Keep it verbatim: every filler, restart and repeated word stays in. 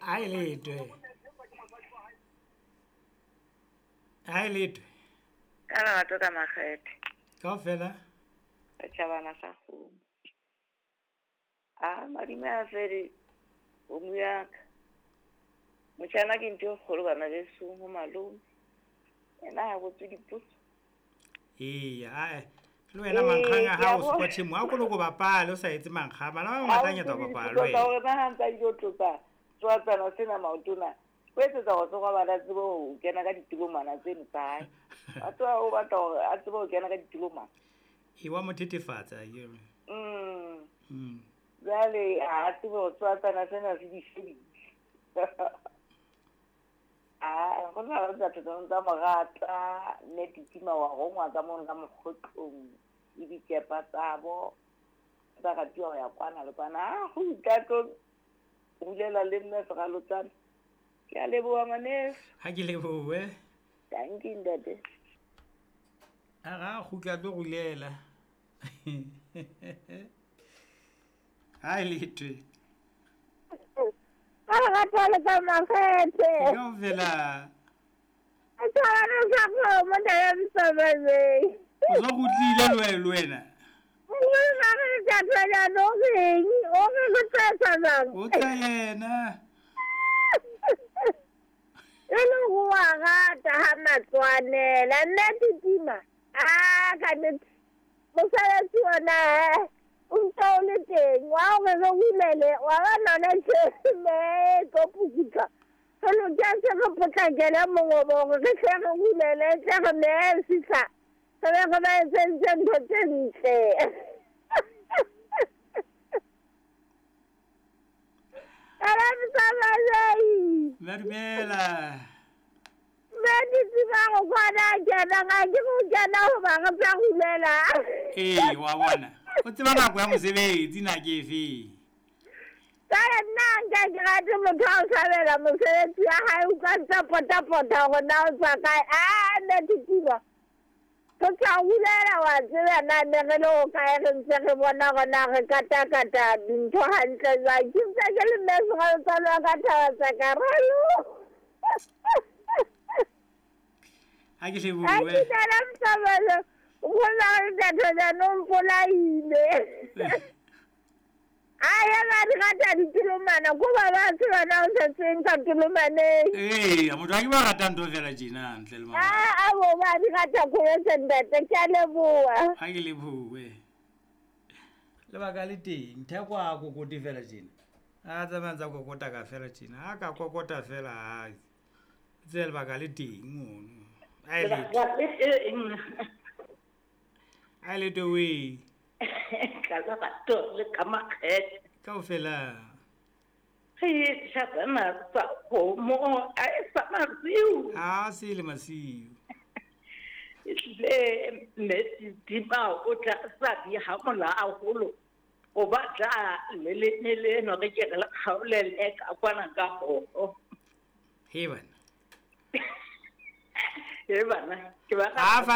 A e letwe. A e letwe. Ka lerato ka makgethe. Kaofela. Setjhabana sa kgomo. A madime a fele kgomo ya ka. Motjhana ke ntho e kgolo bana besong ho malome. Yena ha botswe dipotso. Eya, ae. Le wena mankgang a hao se kwa tshimo a ko loko bapale o sa etse mankgang. Bana ba bangata nyata ho bapala le Ka wena. hore na ha ntsa ilo tlotsa tswatsana sena maotona. O etsetsa hore tsoga bana tsebe ho kena ka ditulomana tseno tsa hae. A tloha o batla hore a tsebe ho kena ka ditulomana. E wa mo thethefatsa akere. Mm. Mm. Jwale ha a tsebe hore tswatsana sena se di shebile. Ah, go na le batho tsa tsa mo rata, mme Titima wa rongwa ka mono ka mokgotlong le dikepa tsa bo tsa ratiwa ho ya kwana le kwana. Ah, go itla tlo rulela le nna seralotsana. Ke a leboha ngwaneso. Ha ke lebohe. Dankie ntate. A ga kgutla tlo rulela. Ha e letwe. Ka lerato le ka makgethe. Kaofela. Setjhabana sa kgomo ntate Mosamaei. O so kgutlile le wena le wena. Nkgono re tla thola o reng? O re go tsa jwang? O tla yena. E le ho wa rata ha matswanela nna Titima. Ah, ka nnete. Mosebetsi ona eh o ntse o le teng wa hore re hulele wa bona hona tje me tlo pukutla. Re loketse re potlakele mongobo hore re hle re hulele tle re me fihla re be re ba etseditse ntho tse ntle. Ala Mosamaei. Dumela. Mme Titima go kwana kena ga ke go kena hoba re tla hulela. Ee, wa bona. O tseba nako ya mosebetsi na ke efe? Ka nna nka ke rate motho a o hlabela mosebetsi wa hae o ka ntsa pota-pota hore na o tswa kae. Ah, nna Titima. Re tla hulela wa tseba na ne re le ho kae re ntse re bona hore na re katakata dintho hantle jwang. Ke ntse ke le mme seralotsana wa ka thaba tsa ka ralo. Ha ke lebohe. Ha ke nana Mosamaei. Nkgono re tla thola no mpolaile. Aye ba di rata ditulomana ko ba ba tseba na o setseng ka tulomaneng. Ee, motho ha ke ba rata ntho fela tjena ntle le mabaka. Ah, a bo ba di rata kholo ntate, ke a leboha. Ha ke lebohe. Lebaka le teng, Theko a kokote fela tjena. A tsamaya ntsa kokota ka fela tjena. Ha ka kokota fela ha. Tse lebaka le teng mono. A e letho. A e letho we. Ka lerato le ka makgethe. Kaofela. Re tjhabana tsa kgomo a e sa masiu. Ha se le masiu. Ehlile mme Titima o tla sa di ha mola haholo. O batla le le le leno re ke re le kgaolele ka kwana ka ho. He bana. He bana, ke ba Ha fa